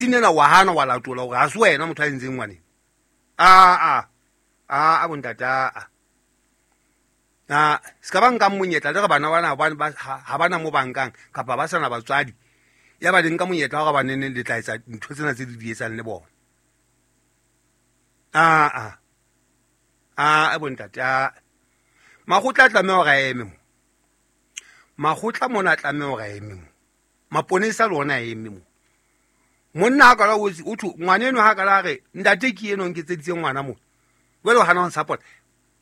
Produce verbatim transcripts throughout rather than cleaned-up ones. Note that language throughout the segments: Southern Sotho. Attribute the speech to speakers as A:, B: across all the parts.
A: Ena wa hana wa latola hore ha se wena motho a entseng ngwaneng. A a a a bontate, a a se ka ba nkang monyetla le re bana bana ha bana mo bankang kapa ba sana batswadi, ya ba le nka monyetla wa gore ba nene le tla etsa ntho tsena tse di di etsang le bona. A a a bontate, a makgotla a tlameha hore a eme mo, makgotla mona a tlameha hore a eme mo, maponesa le ona a eme mo. Monna ha kala o thwe ngwana eno ha kala re ntate ke eno nketseditse ngwana mo, jwale o hana ho support,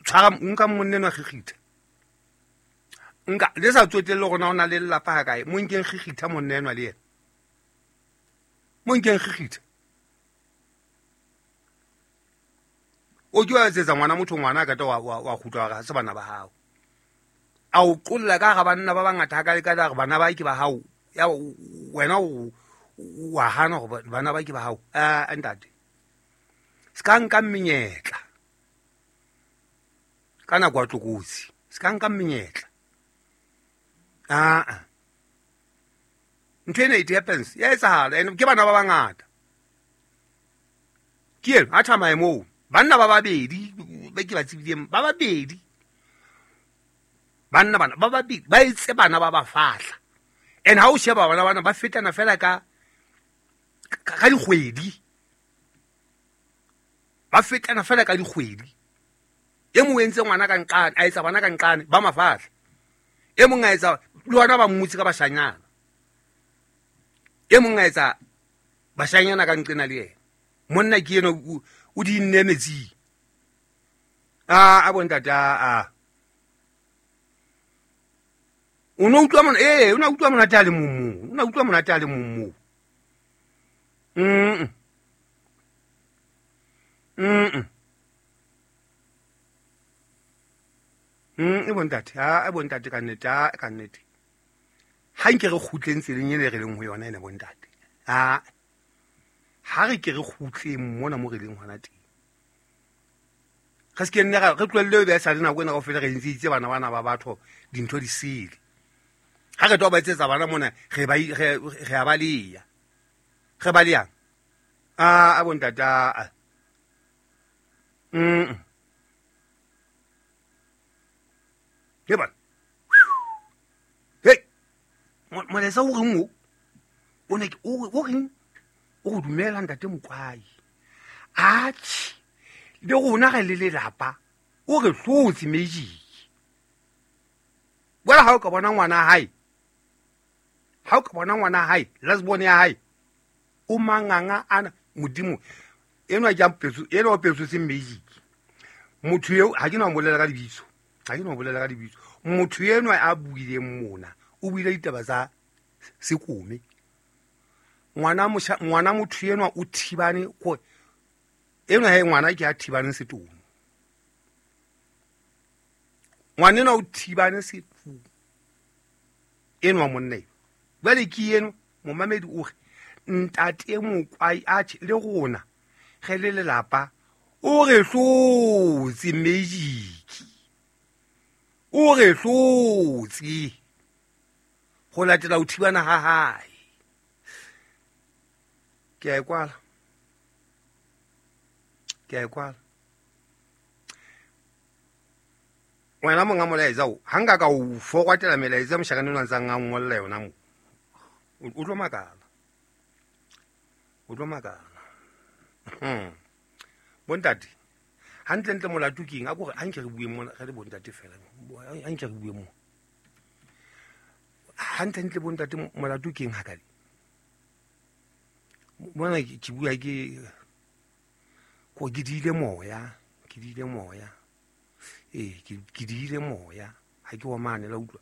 A: tshwara nka monna eno a kgikgitha nka le sa tsotelle hore na o na le lelapa ha kae, mo nkeng kgikgitha monna enwa le yena, mo nkeng kgikgitha. O ke wa etsetsa ngwana motho ngwana ka wa wa kgutla hore ha se bana ba hao, a o qolla ka hara banna ba bangata ha ka le ka hore bana ba ke ba hao, ya wena o wa hana hore bana ba ke ba hao. A ntate se ka nka menyetla ka nako ya tlokotsi, se ka nka menyetla. A ntho ena it happens, ya etsahala, and ke bana ba bangata ke eno a thamaye moo, banna ba babedi ba ke ba tsebileng ba babedi, banna bana ba babedi ba etse bana ba ba fahla, and ha o sheba bana bana ba fetana fela ka ka dikgwedi, ba fetana fela ka dikgwedi. E mong o entse ngwana ka nqane, a etsa bana ka nqane ba mafahla, e mong a etsa le ona ba mmutse ka bashanyana, e mong a etsa bashanyana ka nqena le yena. Monna ke eno o di nne metsing. A a bontate, a o no utlwa mona, eh o na utlwa monate a le mong moo, o na utlwa monate a le mong moo. Mm mm mm e bontate, a e bontate ka nnete, a ka nnete ha nke re kgutleng tseleng ene re leng ho yona ene bontate. A ha re ke re kgutleng mona mo re leng hona teng, re se ke nne re tlohelle be sa le nako ena kaofela re ntse itse bana bana ba batho dintho di sele. Ha re tlo ba etsetsa bana mona re ba re re a baleya, re baleyang. A a bontate, a mm ke bana hey molaetsa o reng o o ne o reng o go dumela ntate Mokwai, atjhe le rona re le lelapa o re hlotse magic. Jwale ha o ka bona ngwana hae, ha o ka bona ngwana hae last born ya hae o manganga ana modimo enwa ke a petso enwa o petsotse magic. Motho eo ha ke no bolela ka lebitso, ha ke no bolela ka lebitso, motho enwa a buileng mona o buile ditaba tsa sekome. Ngwana mosha ngwana motho enwa o thibane ko enwa he ngwana ke a thibane setomo, ngwana enwa o thibane setomo enwa monna eo. Jwale ke eno momamedi o re ntate Mokwai atjhe le rona re le lelapa o re hlotse magic, o re hlotse ho latela ho thibana ha hae. Ke a e kwala, ke a e kwala. Wena monga molaetsa o ha nka ka o forwatela melaetsa moshakane o ntsang a ngolla yona mo, o tlo makala, o tlo makala. Bontate hantlentle molato ke eng? A kore ha nke re bueng mona re le bontate fela, ha nke re bueng mo hantlentle bontate molato ke eng hakale mona? Ke bua ke ko ke diile moya, ke diile moya, ee ke diile moya, ha ke wa mane la utlwa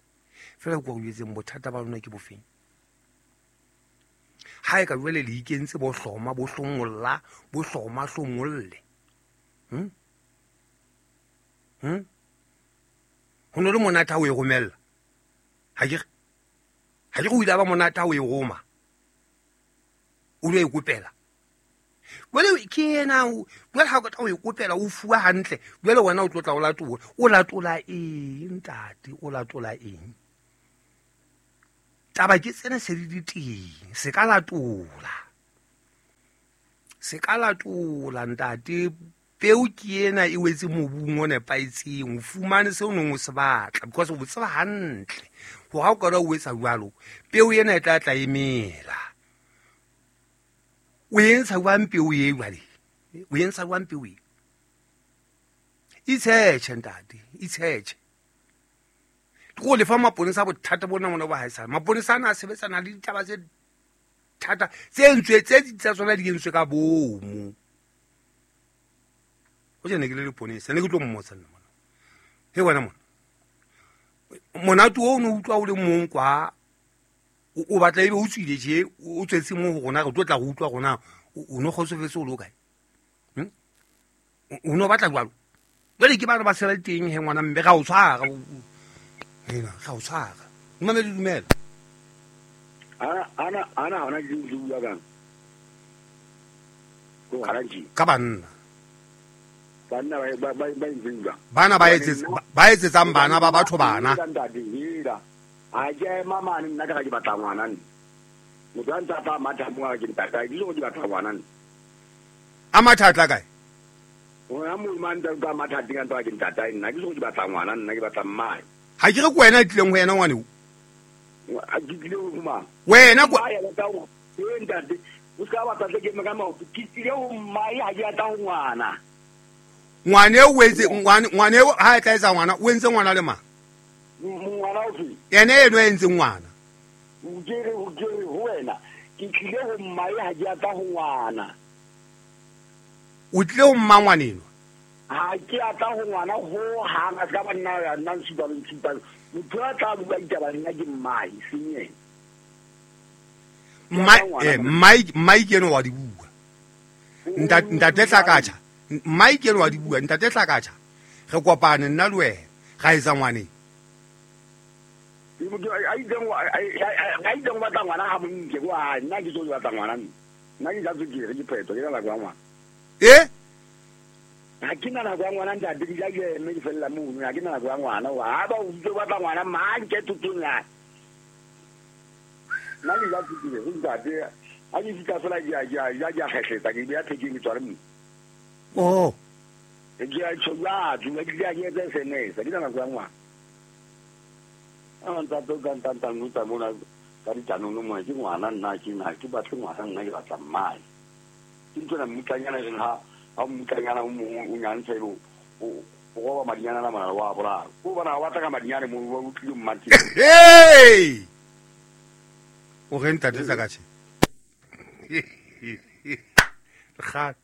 A: fela. Ko re jwetseng bothata ba lona ke bofeng? Ha e ka jwale le ikentse bo hloma bo hlongolla bo hloma hlongolle. Hm hm ho no le monate ha o e romella, ha ke ha ke go ile ba monate ha o e roma o lo e kopela. Jwale ke yena jwale ha o ka o e kopela o fuwa hantle, jwale wena o tlotla o latola, o latola eng ntate, o latola eng? Taba ke tsena se di di teng, se ka latola. Se ka latola ntate peo ke ena e wetse mobung o nepahetseng o fumane seo o neng o se batla because o tseba hantle hore ha o ka o etsa jwalo peo ena e tla tla emela o entsha jwang peo e jwale o entsha jwang peo e itshetjhe ntate itshetjhe ke go lefa maponesa bothata bona mona ba haesale maponesa ana a sebetsana le ditaba tse thata tse entswe tse tsa tsona di entswe ka bomo o jene ke le leponesa ne ke tlo mmotsa nna mona he wena mona monate o no utlwa o le mong kwa o batla ebe o tswile je o tswetse mo ho rona re tlo tla go utlwa rona o no kgotsofetse o le kae o no batla jwalo jwale ke bana ba sela teng he ngwana mme ga o tshwara hena ga o tshwara mmamedi dumela
B: ana ana ana hona ke bua kang go hara
A: ka banna
B: banna ba ba ba nzinga
A: bana ba etsetsa ba etsetsang bana ba batho bana
B: a ke mama nna ka ke batla ngwana nna motho a ntse a tla matha mo ke ntata ke ke batla ngwana nna
A: a matha tla kae
B: ona mo mantsa ka matha teng ntwa ke ntata nna ke ke batla ngwana nna ke batla mmae
A: ha ke re ke wena tlileng ho yena ngwane o
B: a ke tlile ho mang
A: wena kwa
B: e ntate o ska batla tle ke me ka maoto ke tlile ho mmae ha ke atla ho ngwana
A: ngwane o etse ngwane ngwane ha e tla etsa ngwana o entse ngwana le mang
B: ngwana o fe
A: yena eno e entse ngwana
B: o ke re o ke re ho wena ke tlile ho mmae ha ke atla ho ngwana
A: o tlile ho mma ngwaneno
B: ha ke atla ho ngwana ho hang a ska ba nna ya nna ntshipa ntshipa motho a tla bua ditaba nna ke mmae seng yena
A: mmae mmae mmae ke eno wa di bua ntate ntate Tlakatjha mmae ke eno wa di bua ntate Tlakatjha re kopane nna le wena ga etsa ngwaneng
B: a itseng a itseng batla ngwana ha monke kwa nna ke tlo batla ngwana nna ke ja tswekere ke phetho ke nako ya ngwana
A: eh
B: ha ke na nako ya ngwana ntate ke ja ke eme ke fella mono ha ke na nako ya ngwana ha ba o itse batla ngwana mang ke thotong ya nna ke ja tswekere go ntate ha ke fitla fela ke ya ke ya ke ya kgehletsa ke beya thekeng ke tsware mo
A: oh
B: ke ya tshola ke ke ya ke etsa S M S ke na nako ya ngwana a ntate o ka ntantang o tsa mona ka ditanono mona ke ngwana nna ke nna ke batle ngwana nna ke batla mmae ke ntsona mmutlanyana reng ha ha mmutlanyana o mongwe o nyantsha ebe o roba madinyana la mona wa boraro o bona wa batla ka madinyane mo o tlile mmati
A: hey o re ntate Tlakatjhe ga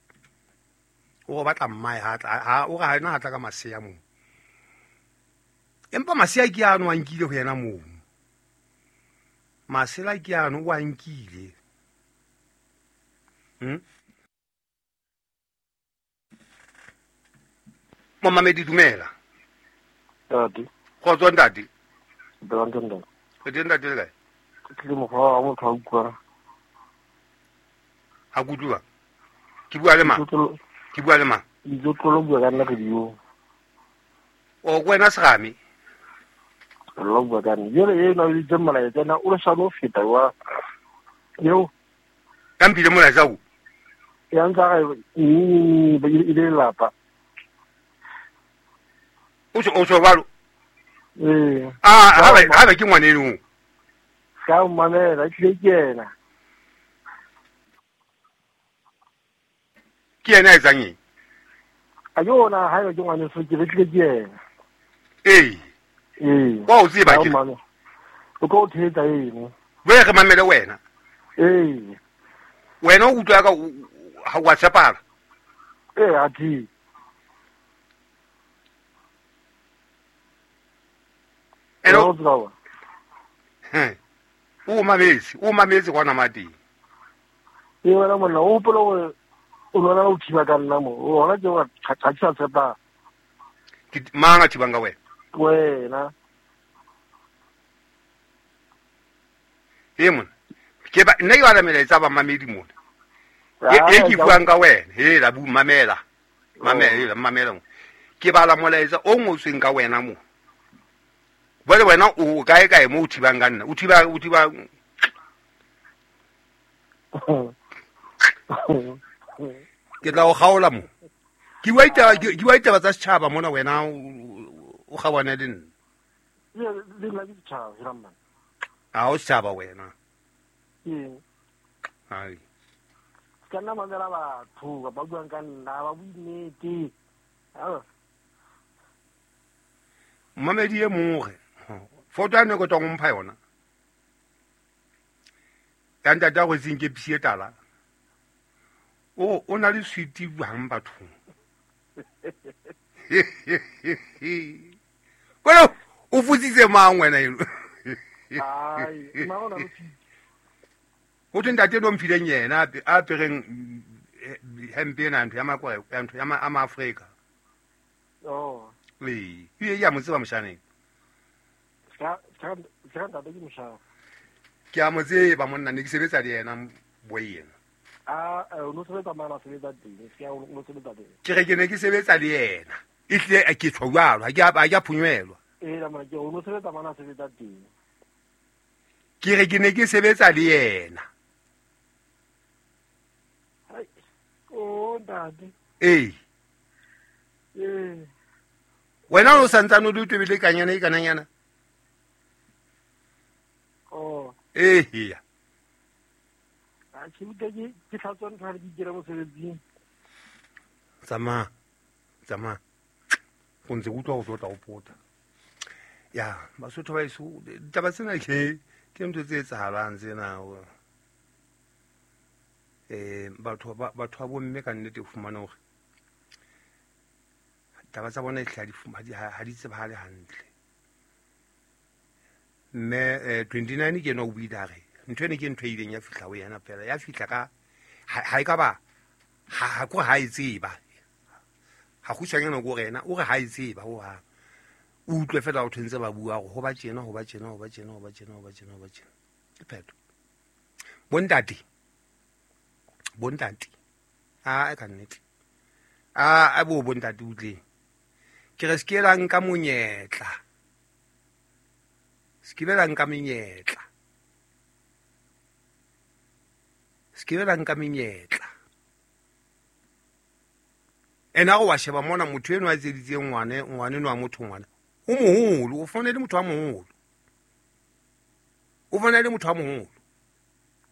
A: o batla mmae ha ha o ga ena ha tla ka masea mo empa masea ke ano a nkile ho yena moo masela ke ano o a nkile hm Momamedi dumela
C: ntate
A: kgotso ntate
C: ntate ntate
A: re teng ntate le kae
C: ke tlile mokgwa wa motho a utlwang
A: ha ke utlwa ke bua le mang ke bua le mang
C: itse tlolo bua ka nna radio
A: o ko wena Serame
C: lo bua ka nna jale e na le molaetsa na o le sano feta wa eo
A: ka mphile molaetsa o
C: ya ntsa ga e e le lapa
A: o so o so balo
C: eh
A: ah ha ba ha ba ke ngwaneno
C: ka mamela ke ke yena
A: ke yena a etsang eng
C: a yona ha yo ke ngwane so ke tlile ke yena
A: eh
C: eh
A: wa o tseba ke
C: o go thetsa eng
A: we re mamele wena
C: eh
A: wena o utlwa ka ha wa tshepala
C: eh a thi
A: eno he o mametse o mametse kwana mateng
C: e wena monna o hopola hore o lwana o thiba ka nna mo hona ke wa ga ke sa tshepa
A: ke mang a thibang ka wena
C: wena
A: e mona ke ba nna ke bala melaetsa ba mamedi mona e ke buang ka wena he la bu mamela mamela mamela ke bala molaetsa o ngotsweng ka wena mo bole wena o kae kae mo o thibang ka nna o thiba o thiba Ke tla o kgaola mo. Ke bua ditaba ke bua ditaba tsa setjhaba mona wena o kgaohane le nna.
C: Le nna ke setjhaba hela man.
A: Ha o setjhaba wena.
C: Ee.
A: Hai.
C: Ka nna mamela batho ba buang ka nna ba bue nnete.
A: Mamedi e mongwe foto ya ne ko tswang mpha yona. Ya ntate a rwetseng ke pisi e tala. O o na le switi jwang bathong. Kwena o futsitse mang wena eno?
C: Ai, mang o na le switi?
A: Ho thwe ntate no mphileng yena a apereng hempe ena ntho ya makwa ya ntho ya ma Afrika.
C: Oh.
A: Ee, e ya mo tseba moshaneng.
C: Ska ska ska ntate ke moshana.
A: Ke a mo tseba monna ne ke sebetsa le yena boy yena.
C: Ah, o no sebetsa mana sebetsa teng, ska o no sebetsa teng.
A: Ke re ke ne ke sebetsa le yena. E tle ke tshwa jwalo, ha ke a ke a phunywelwa.
C: Ee, la mona ke o no sebetsa mana sebetsa teng.
A: Ke re ke ne ke sebetsa le yena.
C: Hai. Oh, ntate.
A: Ee.
C: Ee.
A: Wena o santsane o le tobile kanyana e kananyana.
C: Oh.
A: Ee ya.
C: A ke utlwa ke ke tlhatswa ntho ha ke ikela mosebetsing.
A: Tsamaya. Tsamaya. Go ntse ke utlwa go tlotla o pota. Ya, Basotho ba eso ditaba tsena ke ke ntho tse etsahalang tsena. Eh batho ba batho ba bomme ka nnete o fumana hore taba tsa bona e hle ha di tsebahale hantle. Mme twenty-nine ke ena o buile a re ntho ene ke ntho e ileng ya fihla ho yena fela ya fihla ka ha e ka ba ha ko ha e tseba. Ha kgutshwanyana ko re yena o re ha e tseba ho hang. O utlwe fela ho thwentse ba bua hore ho ba tjena ho ba tjena ho ba tjena ho ba tjena ho ba tjena ho ba tjena. Ke phetho. Bontate. Bontate. A ka nnete. A a bo bontate utleng. Ke re se ke la nka monyetla. Se ke la nka menyetla. Se ke la nka menyetla. Ena go wa sheba mona motho eno a etseditseng ngwane ngwane no a motho ngwana. O moholo, o fonele motho a moholo. O fonele motho a moholo.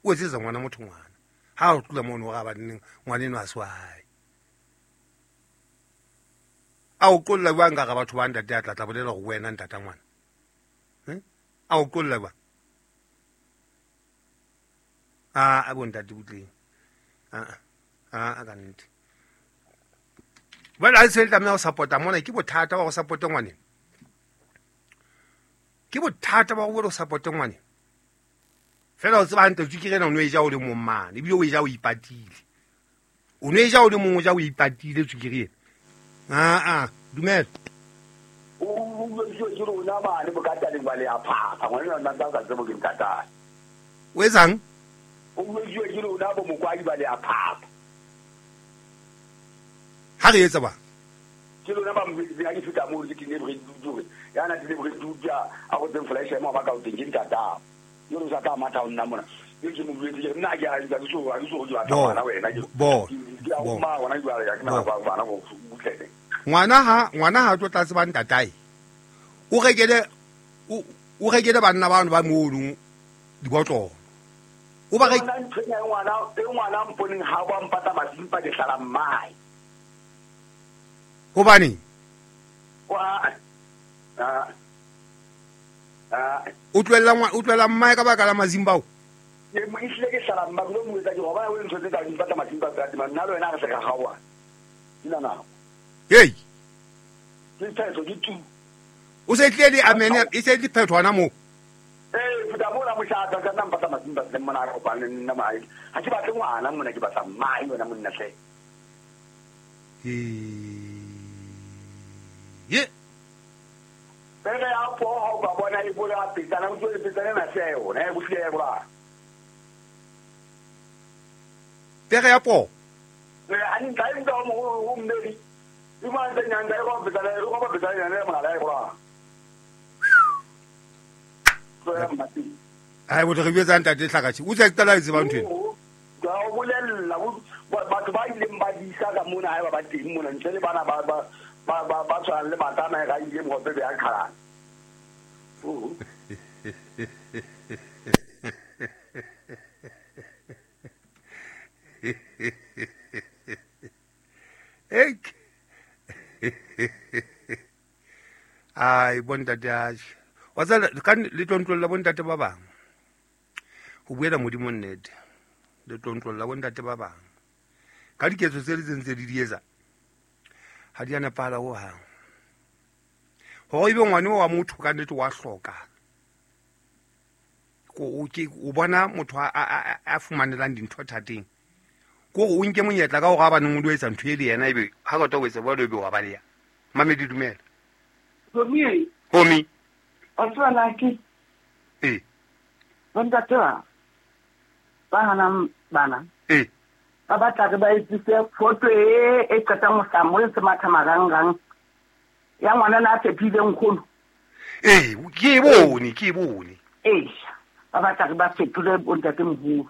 A: O etsetsa ngwana motho ngwana. Ha o tlola mono ga ba neng ngwane no a swae. A o qolla jwang ka ga batho ba ntate a tla tla bolela go wena ntata ngwana. Eh? A o qolla jwang? A a bo ntate butleng. A a a ka nnete. Ba la se tlameha ho support-a mona ke bothata ba go support ngwane. Ke bothata ba go go support ngwane. Fela o tseba hantle tswikere ena o no e ja o le mong mane ebile o e ja o ipatile. O no e ja o le mong o ja o ipatile tswikere ena. Ah ah, dumela.
B: O o ke rona bane bokata le ba le a phapha ngwana nna nna ka tsebo ke ntata.
A: O etsang?
B: O bua ke rona bo mokwadi ba le a phapha.
A: Ha re etsa ba?
B: Ke lona ba mobedi ha ke fihla moo ke tine bre dure. Ya na tine bre dure a go tseng flash mo ba ka o teng ke ntata. Yo re sa ka matha o nna mona. Ke ke mo buetse ke nna ke a ke so ke so ke batla ngwana wena ke.
A: Bo.
B: Ke a ma wona jwale ya ke na ba bana go butlele.
A: Ngwana ha ngwana ha tlo tla tseba ntatae. O rekele o o rekele banna bano ba mono dibotlolo. O ba re
B: ngwana e ngwana mponeng ha ba mpata masimpa ke hlala mmae.
A: Hobane
B: wa a a
A: o tlohella ngwana o tlohella mmae ka baka la mazimba o.
B: Ke mo ihle ke hlala mma lo mo etsa ke hoba o ntho tse ka mpata masimpa tsa nna le wena re se ka gaoa. Nna na.
A: Hey.
B: Ke phetho ke tu.
A: O se tle di amene e se di phetho hona mo.
B: Eh futa mo la moshata ka nna mpata masimpa le mona re kopane nna mai. Ha ke batle ngwana mona ke batla mai wena monna hle.
A: Eh. Ye.
B: Pere ya po ha ba bona e bola petsana o tswe petsana na se yona e bohlile ya bola.
A: Pere ya po.
B: Eh ani ngai ndo mo o mmedi. I ma ntse nyanga e go petsana e go ba petsana nyana mona la e bola. Tsoya mati.
A: Ai bo re bjetsa ntate hlakatshi. O tsa qala e tseba ntho ena.
B: Ga o bolella batho ba Maponesa ka mona ha ba ba teng mona ntle le bana ba ba ba ba ba tshwanang le batana ga ile mohope be a qhalana. Oh.
A: Ek. Ai bontate a wa tsala ka le tlontlolla bontate ba bang. Ho buela Modimo nnete. Le tlontlolla bontate ba bang. Ka diketso tse le tsentse di di etsa. Ha di a nepahala ho hang. Hore ebe ngwane wa motho ka nnete wa hloka. Ko o ke o bona motho a a a fumanelang dintho thateng. Ko o nke monyetla ka hore a baneng o lo etsa ntho e le yena ebe ha ka tlo etsa bolo ebe wa baleya. Mamedi dumela.
D: Homi.
A: Homi.
D: O tswana ke.
A: Eh.
D: Bontate ba. Ba hanang bana.
A: Eh.
D: Ba batla re ba etsise photo e e qetang ho hlaha mo le matha marangrang. Ya ngwana na fepile nkgono.
A: Eh, ke e bone, ke e bone.
D: Eh. Ba batla re ba fetole bontate moholo.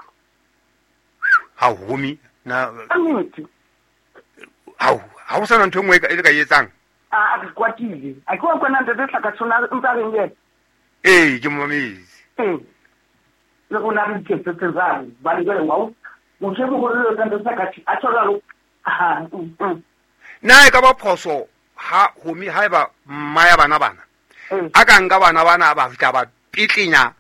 A: Ha homi na
D: nnete.
A: Ha ha o sana ntho e nngwe e le ka etsang.
D: A re kwatile. A ke wa kwana ntate hlaka tshona ntsa reng le.
A: Eh, ke momametse.
D: Eh. Le rona re iketsetse jwang? Ba le jwale wa motho e moholo le ntate hlaka a thola lo. Ha.
A: Na e ka ba phoso ha homi haeba mma ya bana bana. A ka nka bana bana ba fihla ba pitlenya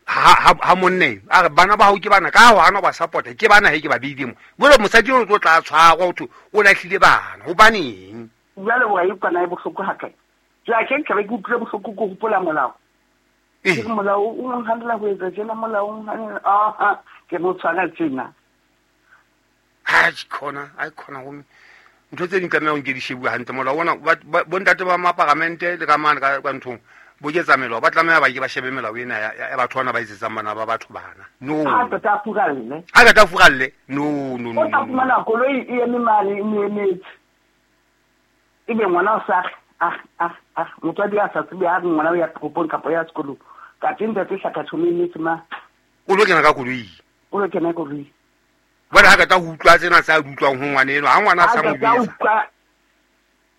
A: ha ha ha monne a re bana ba hao ke bana ka ho hana ba support ke bana he ke ba beile mo jwale mosadi o tlo tla tshwarwa ho thwe o lahlile bana hobaneng
D: jwale wa e kwana e bohloko ha kae jwale ke nka be ke utlwile bohloko ke hopola molao ke molao o nhandela ho etsa tjena molao o nhandela ah ke mo tshwana tjena
A: ha ke khona a khona ho ntho tse ding tlameha ho nke di shebuwe hantle molao ona bontate ba maparamente le ka mane ka nthong bo ketsa melao ba tlameha ba ke ba shebe melao ena ya batho bana ba etsetsang bana ba batho bana no
D: ha ka ta furalle
A: ha ka ta furalle no no no
D: o tla fumana koloi e eme mane e emetse ebe ngwana o sa ah ah ah motswadi a sa tsebe ha re ngwana o ya toropong kapa ya sekolong ka teng ntate hlaka tshome emetse ma
A: o lo kena ka koloi
D: o lo kena koloi
A: bona ha ka ta ho utlwa tsena tsa di utlwang ho ngwana eno ha ngwana a sa mo
D: bitsa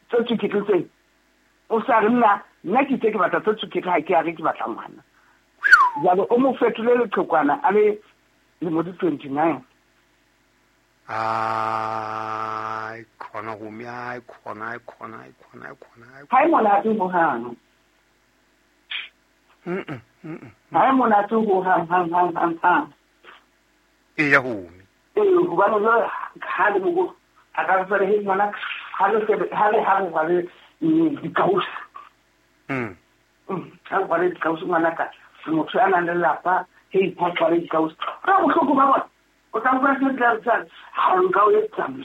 D: tse tsukete tse o sa re nna nna ke itse ke batla tse tsukete ha ke a re ke batla ngwana jwale o mo fetole leqhekwana a le lemo di twenty-nine
A: ai khona ho mi ai khona ai khona ai khona ai khona
D: ha e monate ho hang
A: mm mm
D: ha e monate ho hang hang hang hang hang
A: e ya ho mi
D: e hobane jwale ha le mo a ka re he ngwana ha le ha le ha re le dikausi
A: mm
D: ha re le dikausi ngwana ka motho a nang le lelapa he ipha le dikausi ka bohloko ba bona o tla utlwa se tla tsa ha o nka o etsa
A: mm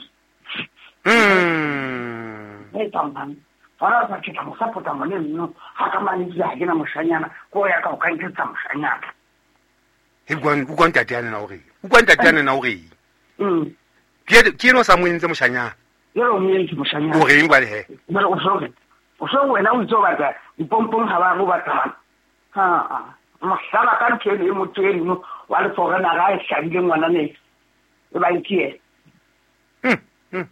D: e tsamang fara sa ke tla mo support-a ngwane nno ha ka mane ke ha ke na moshanyana ko ya ka o ka nketsa moshanyana
A: he utlwa utlwa ntate yana na o reng utlwa ntate yana na o reng
D: mm
A: ke ke no sa mo entse moshanyana
D: jwale o mo entse moshanyana
A: o reng jwale he
D: jwale o so o so wena o itse o batla dipompong ha ba re o batla ha mohlala ka ntho eno e motho eno wa le foreigner a e hlabile ngwana ne e bang ke yena
A: mm mm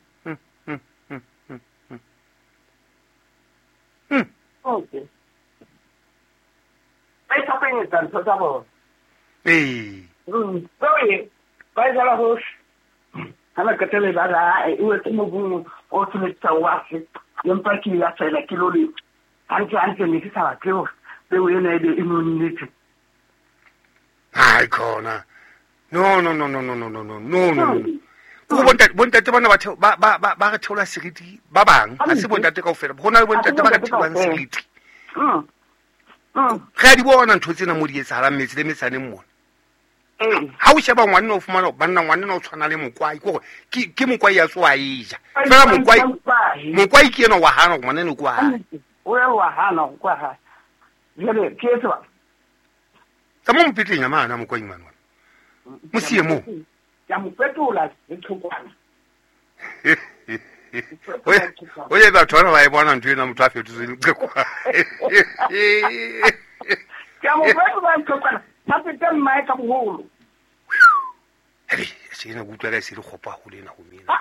A: mm mm mm mm
D: okay ba ipapanyetsa ntho tsa bona
A: ee
D: mm ba e jala hohle ha ba qetelle ba ra e wetse mobung o tshwanetse wa se empa ke ya fela ke lo le hantle hantle ne ke sa batle hore peo ena ebe e nonnetse
A: ai khona no no no no no no no no no no ko bontate bontate bana ba ba ba ba re theola seriti ba bang ha se bontate kaofela ho na le bontate ba re theolang seriti
D: mm mm
A: re a di bona ntho tsena mo di etsahalang metse le metsaneng mona ha o sheba ngwana o fumana banna ngwana o tshwana le mokwai ke gore ke ke mokwai ya tsoa e ja fela mokwai mokwai ke ena wa hana ngwana ne kwa
D: o ya wa hana kwa ha jwale ke etsa
A: tsa mo mpitleng ya mana mokwai mana mo sie mo
D: ke mo fetola le tlhokwana
A: o ye batho ba ba e bona ntho ena motho a fetotswe leqhekwana
D: ke mo fetola leqhekwana ha fete mmae ka boholo
A: Hei, se ena kutlwa ka e se le kgopo haholo ena ho mina.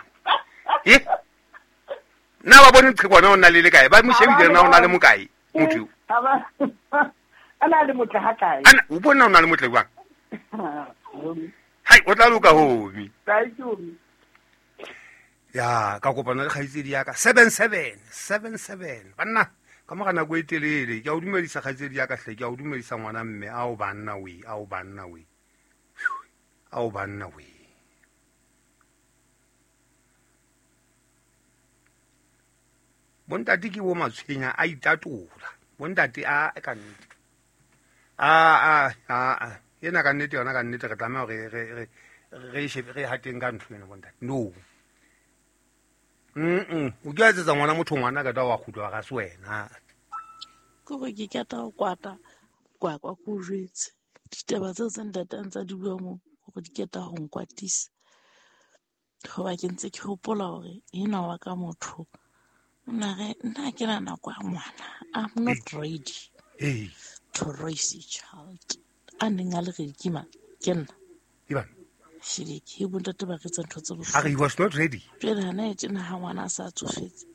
A: Nna ba bone qhekwana o na le le kae? Ba mo shebile na o na le mokae motho?
D: Aba ana le motle ha kae?
A: Ana o bona o na le motle jwang? Hai o tla loka homi.
D: Thank you.
A: Ya ka kopana le kgaitsedi ya ka seven seven seven seven banna ka mora nako e telele ke a o dumedisa kgaitsedi ya ka hle ke a o dumedisa ngwana mme ao banna we ao banna we ao banna we bontate ke bo matshwenya a itatola bontate a ka nnete a a a ena ka nnete yona ka nnete re tlameha hore re re re shebe re hateng ka ntho ena bontate no. Mm o ke etsetsa ngwana motho ngwana ka wa kgutlwa ga se wena.
E: Ke gore ke kata go kwata kwa kwa go jwetse ditaba tse tse ntate a ntsa di bua mo gore di keta go nkwatisa. Hoba ke ntse ke hopola hore ena wa ka motho o na re nna ke na nako ya ngwana. I'm not ready
A: hey
E: to raise a child. A neng a le ready ke mang? Ke nna.
A: Ivan
E: Shiri ke bontate ba retsa ntho tse bohloko.
A: A re he was not ready.
E: Jwale hana e tjena ha ngwana a sa tsofetse.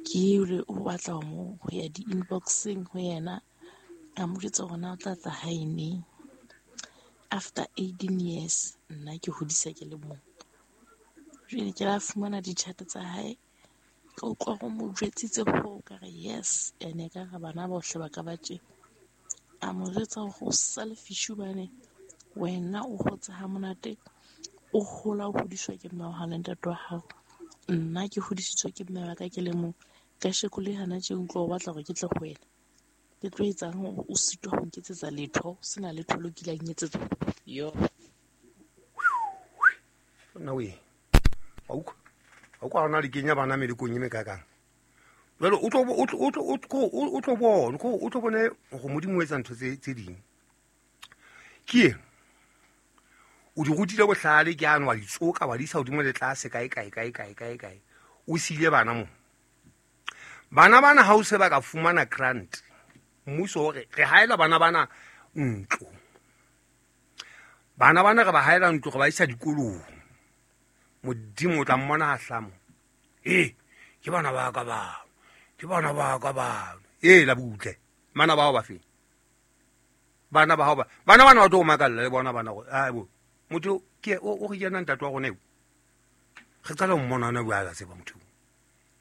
E: Ke ore o batla mo ho ya di-inboxing ho yena. A mo jwetsa hore na o tla tla hae neng. After eighteen years nna ke hodisa ke le mong. Jwale ke la fumana di-chat tsa hae. Ka utlwa go mo jwetsitse ho ka re yes ene ka re bana bohle ba ka ba tje. A mo jwetsa hore o sa le fish hobane wena o hotse ha monate. O hola o hodiswa ke mme wa hao le ntate wa hao. Nna ke hodisitswe ke mme wa ka ke le mong. Kasheko le hana tje utlwa o batla hore ke tle ho wena. Ke tlo etsang hore o sitwa ho nketsetsa letho, sena letho lo kileng nketsetsa. Yo.
A: Nna we. Wa utlwa? Wa utlwa hona le kenya bana melekong e mekakang. Jwale o tlo o tlo o tlo o tlo bona, o tlo bone hore Modimo o etsa ntho tse tse ding. Ke e o di rutile bohlale ke ano wa ditsoka wa di isa hodimo le tlase kae kae kae kae kae kae o sile bana mo bana bana ha o se ba ka fumana grant mmuso hore re haela bana bana ntlo bana bana re ba haela ntlo re ba isa dikolong Modimo o tla mmona ha hlamo eh ke bana ba ka ba ke bana ba ka ba eh la butle mana ba ba fe bana ba ba bana bana ba tlo makalla le bona bana go a bo motho ke o o re yena ntate wa rona eo re qala ho mmona ona bua ka tseba motho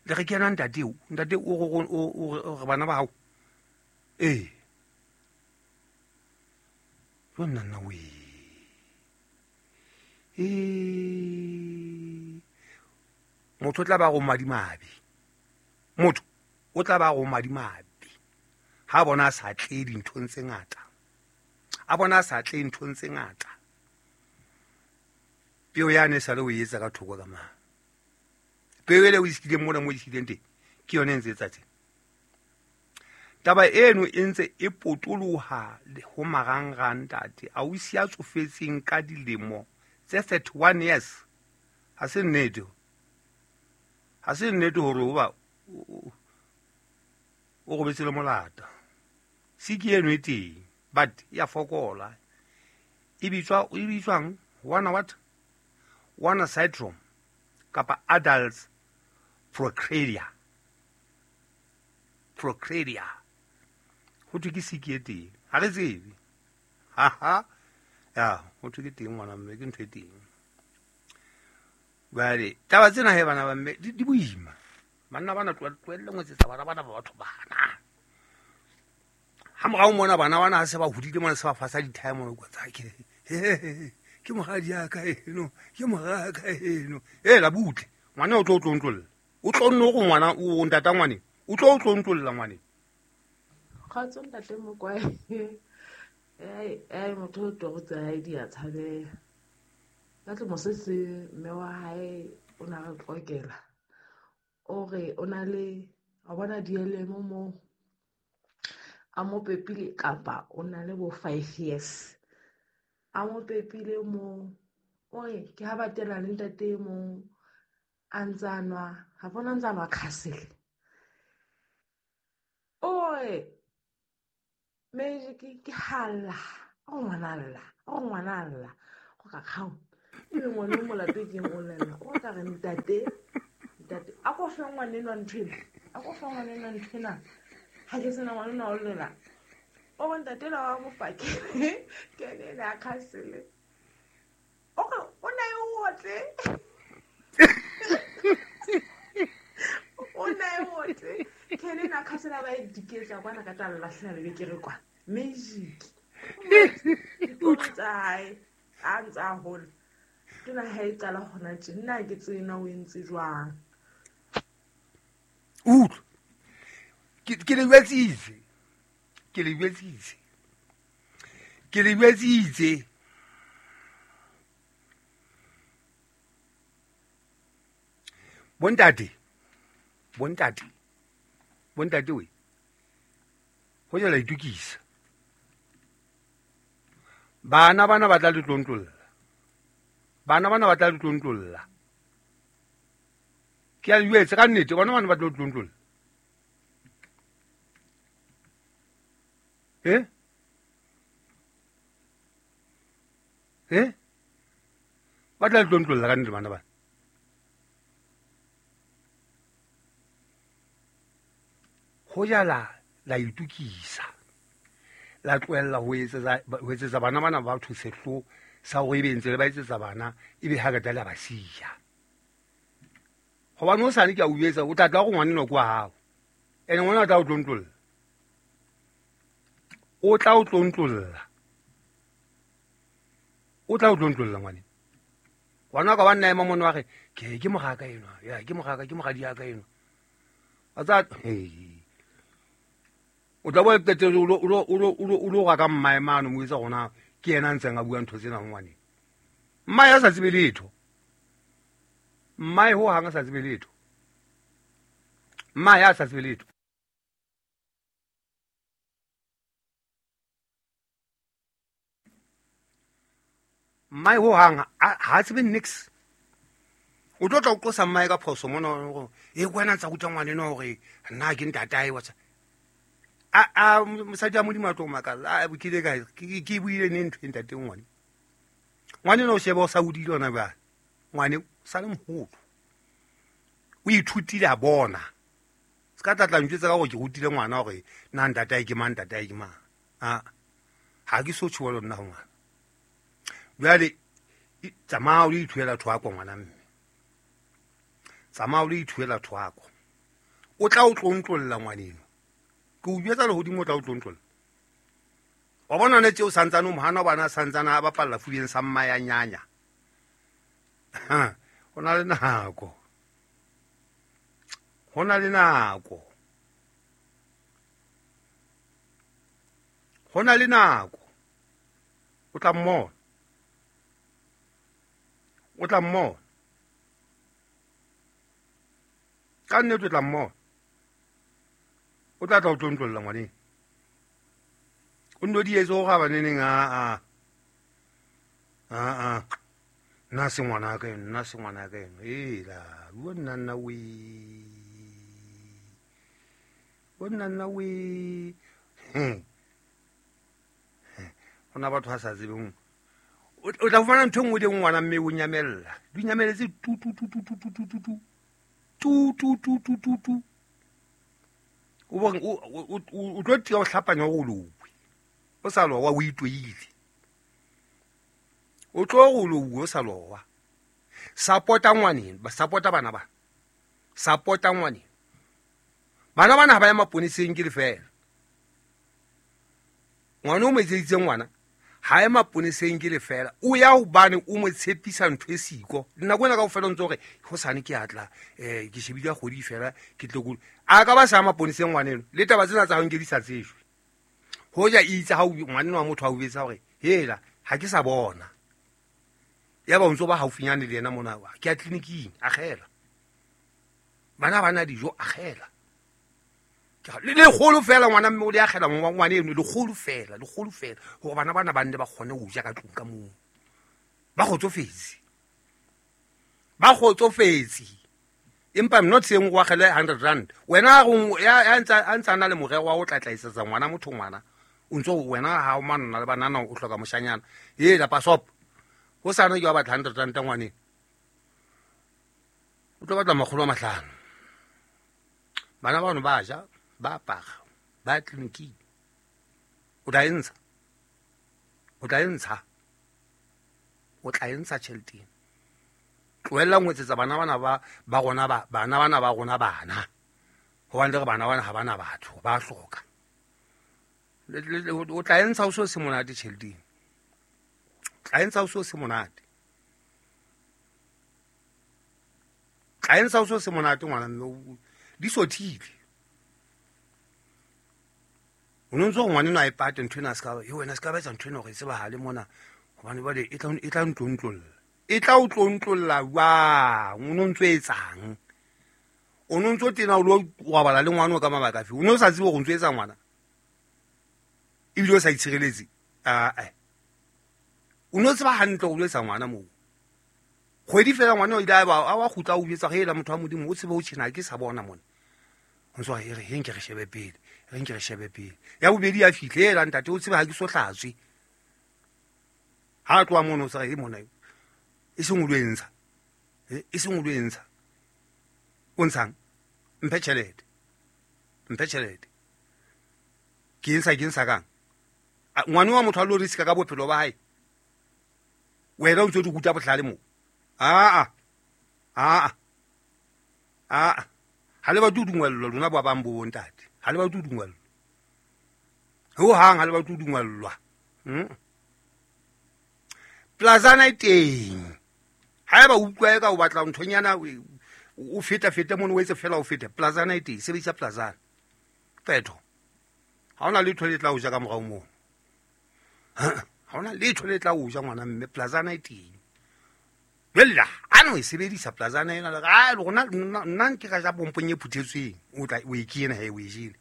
A: le re ke yena ntate eo ntate o o re bana ba hao eh yo nna nna we eh motho o tla ba go madimabe motho o tla ba go madimabe ha bona a sa tle dinthong tse ngata a bona a sa tle nthong tse ngata peo yane sa le o etsa ka thoko ka mang peo ele o iskileng mona mo iskileng teng ke yone e ntse etsa teng taba eno e ntse e potoloha ho marangrang ntate a o sia tsofetseng ka dilemo tse thirty-one years ha se nnete ha se nnete hore hoba o robetse le molata siki eno e teng but ya fokola e bitswa e bitswang one what Warner syndrome kapa adults procredia procredia ho thwe ke siki e teng ha re tsebe ha ha ya ho thwe ke teng ngwana mme ke ntho e teng jwale taba tsena he bana ba mme di boima banna bana tlohelle ngwetsetsa bana bana ba batho bana ha morao mona bana bana ha se ba hodile mona se ba fasa dithae mona kwa tsa ke ke moradi ya ka eno ke mora ka eno e la butle ngwana o tlo tlo ntlolla o tlo nno go ngwana o ntata ngwane o tlo tlo ntlolla ngwane
F: kgotso ntate Mokwae ai ai motho o tlo tsa hae di a tshabeha ka tlo mosese mme wa hae o na re tlokela o re o na le a bona dielemo mo a mo pepile kapa o na le bo five years a mo pepile mo o re ke ha ba tela le ntate mo a ntsa nwa ha bona ntsa nwa khasele o re me ke ke hala o ngwana lla o ngwana lla go ka kgao e ngwana mo lapeng o lela o ka re ntate ntate a go ko fe ngwanenwa ntho ena a ko fe ngwanenwa ntho ena ha ke sena ngwanenwa o lela o re ntate la wa mofake ke ene a khasele o re o na e otle o na e otle ke ene a khasela ba e diketsa kwana ka tla lahlela le bekere kwa magic o tsa hae a ntse a hola ke na ha e qala hona tje nna ke tsena o entse jwang
A: utlwa ke ke le jwetsitse ke le jwetsitse ke le jwetsitse bontate bontate bontate we ho jela itukisa bana bana ba tla le tlontlolla bana bana ba tla le tlontlolla ke a jwetse ka nnete bona bana ba tla tlontlolla eh eh ba tla tlontlolla ka nnete bana bana ho jala la itukisa la tlohella ho etsetsa ho etsetsa bana bana ba batho sehlo sa hore ebe ntse le ba etsetsa bana ebe ha ka tla ba siya hobane o sane ke a o etsa o tla tla go ngwaneno kwa hao ene ngwana o tla o tlontlolla o tla o tlontlolla o tla o tlontlolla ngwane ngwana ka wa nna ema mona wa re ke ke mogaka enwa ya ke mogaka ke mogadi ya ka enwa a tsa o tla bo tete o lo o lo o lo ga ka mmae mano mo itse gona ke yena ntseng a bua ntho tsena ngwane mmae a sa tsebe letho mmae ho hang a sa tsebe letho mmae a sa tsebe letho mmae ho hang ha tsebe nix o tlo tla o qosa mmae ka phoso mona e kwena ntsa ruta ngwane no hore nna ke ntatae wa tsa a a mosadi a modimo a tlo makalla a bokile ka ke buile ne ntho e ntate ngwane ngwane no sheba o sa hodile ona ba ngwane sa le moholo o ithutile a bona se ka tla tla ntjwetsa ka gore ke rutile ngwana hore nna ntatae ke mang ntatae ke mang a ha ke so tjho nna ho ngwana jwale tsamaya o le ithuela thwako ngwana mme tsamaya o le ithuela thwako o tla o tlontlolla ngwaneno ke o jwetsa lehodimo o tla o tlontlolla wa bona ne tseo santsane o mohana bana santsane a bapalla fubeng sa mma ya nyanya ho na le nako ho na le nako ho na le nako o tla mmona o tla mmona ka nnete o tla mmona o tla tla o tlontlolla ngwaneng o nno di etse go ga baneneng a a a a nna se ngwana ka eno nna se ngwana ka eno ela bua nna nna we bua nna nna we ho na batho ba sa tsebeng o tla fumana ntho e nngwe le ngwana mme o nyamella di nyameletse tu tu tu tu tu tu tu tu tu tu tu tu tu tu o bong o o tlo tia o hlapanya go lowe o sa lowa o itoile o tlo go lowe o sa lowa support-a ngwaneng ba support-a bana ba support-a ngwaneng bana bana ha ba ya maponeseng ke lefela ngwana o mo etseditse ngwana ha e maponeseng ke lefela o ya hobane o mo tshepisa ntho e siko nako ena kaofela o ntse hore hosane ke atla um ke shebile ya kgwedi fela ke tle ko a ka ba sa ya maponeseng ngwaneno le taba tsena tsa hao nke di sa tsejwe hoja itse ha ngwaneno wa motho a o betsa hore hela ha ke sa bona ya ba o ntso ba haufinyane le yena mona ke ya tleliniking akgela bana ba na dijo akgela le lekgolo fela ngwana mme o le akgela ngwane eno lekgolo fela lekgolo fela hore bana bana ba nne ba kgone ho ja ka tlung ka moo ba kgotsofetse ba kgotsofetse empa I'm not saying o akgele hundred rand wena ya a ntsa na le morero wa ho tlatlaisetsa ngwana motho ngwana o ntso wena ha o manna le banana o hloka moshanyana hela pasop ho sane ke wa batla hundred rand ngwaneng o tlo batla makgolo a mahlano Bana ba bano ba ja, ba apara, ba tleliniking. O tla e ntsha. O tla e ntsha. O tla e ntsha tjhelete ena. Tlohella ho etsetsa bana bana ba ba rona ba bana bana ba rona bana. Hobane le re bana bana ha bana batho, ba hloka. O tla e ntsha o so se monate tjhelete ena. O tla e ntsha o so se monate. Tla e ntsha o so se monate ngwana mme di sothile. O no ntso ngwana eno a e pate ntho ena a ska ba, wena ska ba etsa ntho ena hore e tsebahale mona hobane jwale e tla e tla ntlontlolla. E tla o tlontlolla jwang? O no ntso etsang? O no ntso tena o lo robala le ngwana o ka mabaka afe? O no sa tsebe hore o ntso etsa ngwana? Ebile o sa itshireletse? Ah-eh. O no tseba hantle hore o lo etsa ngwana moo. Kgwedi fela ngwana o ile a ba a wa kgutla o jwetsa hela motho wa Modimo o tsebe ho tjhena ke sa bona mona. O ntso re re nke re shebe pele, re nke re shebe pele. Ya bobedi ya fihle hela ntate o tsebe ha ke so hlatswe. Ha tloha mono o sa re e mona e seng o lo entsha. E seng o lo entsha. O ntshang? Mphe tjhelete. Mphe tjhelete. Ke entsha ke ntsha kang? Ngwana wa motho a lo riska ka bophelo ba hae. Wena o ntso di ruta bohlale moo. Ah ah. Ah ah. Ha le batle ho dungwellwa lona ba bang bo bontate. Ha le batle ho dungwellwa. Ho hang ha le batle ho dungwellwa. Mm. Plazana e teng. Haeba o utlwa eka o batla nthonyana o feta feta mono o etse fela o fete. Plazana e teng, sebedisa plazana. Phetho. Ha hona letho le tla o ja ka morao moo. Ha hona letho le tla o ja ngwana mme, plazana e teng. Bella, a no e sebedisa plazana ena le a rona nna nke ka ja pompong e phuthetsweng. O tla o e kena he o e jele.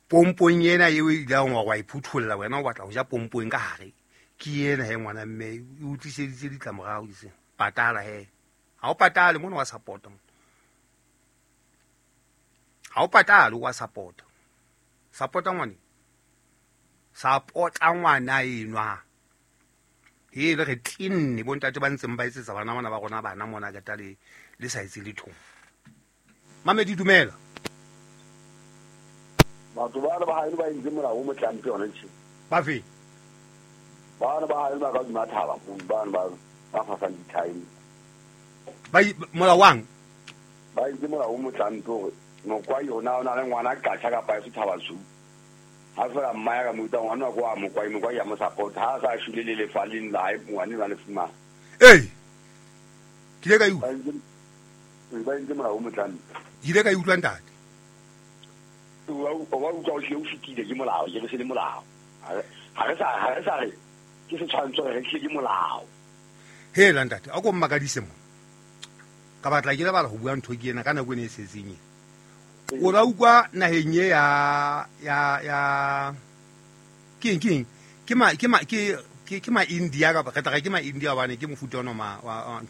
A: Pompong ena eo e ileng wa wa e phutholla wena o batla ho ja pompong ka hare. Ke ena he ngwana mme e utliseditse ditlamorao dise. Patala he. Ha o patale mono wa support. Ha o patale wa support. Support ngwane. Support ngwana enwa. E le re tinne bontate ba ntseng ba etsetsa bana bana ba rona bana mona ka tale le sa etse letho. Mamedi dumela.
B: Batho ba ba hae ba entse molao o motlampe yona tjhe.
A: Ba fe?
B: Ba ba hae ba ka dima thaba ba ba ba fasang di-time.
A: Ba molao wang?
B: Ba entse molao o motlampe hore mokwai yona o na le ngwana katjha kapa e thaba su. Ha fela mma ya ka mo utlwa ngwana wa mokwai mokwai ya mo support ha sa shule le lefaleng la hae ngwana ba le fumana.
A: Ei. Ke ile ka e utlwa.
B: Ba entse molao o motlampe.
A: Ke ile ka e utlwa ntate.
B: O wa utlwa o hlile o fetile ke molao, ke re se le molao. Ha re sa ha re sa re ke setshwantsho re hlile ke molao.
A: Hela ntate, a ko mmakadise mo. Ka batla ke lebala ho bua ntho ke ena ka nako ene e setseng ena. O la utlwa naheng e ya ya ya ke eng ke eng ke ma ke ma ke ke ke ma India kapa re tla re ke ma India hobane ke mofuta ona ma wa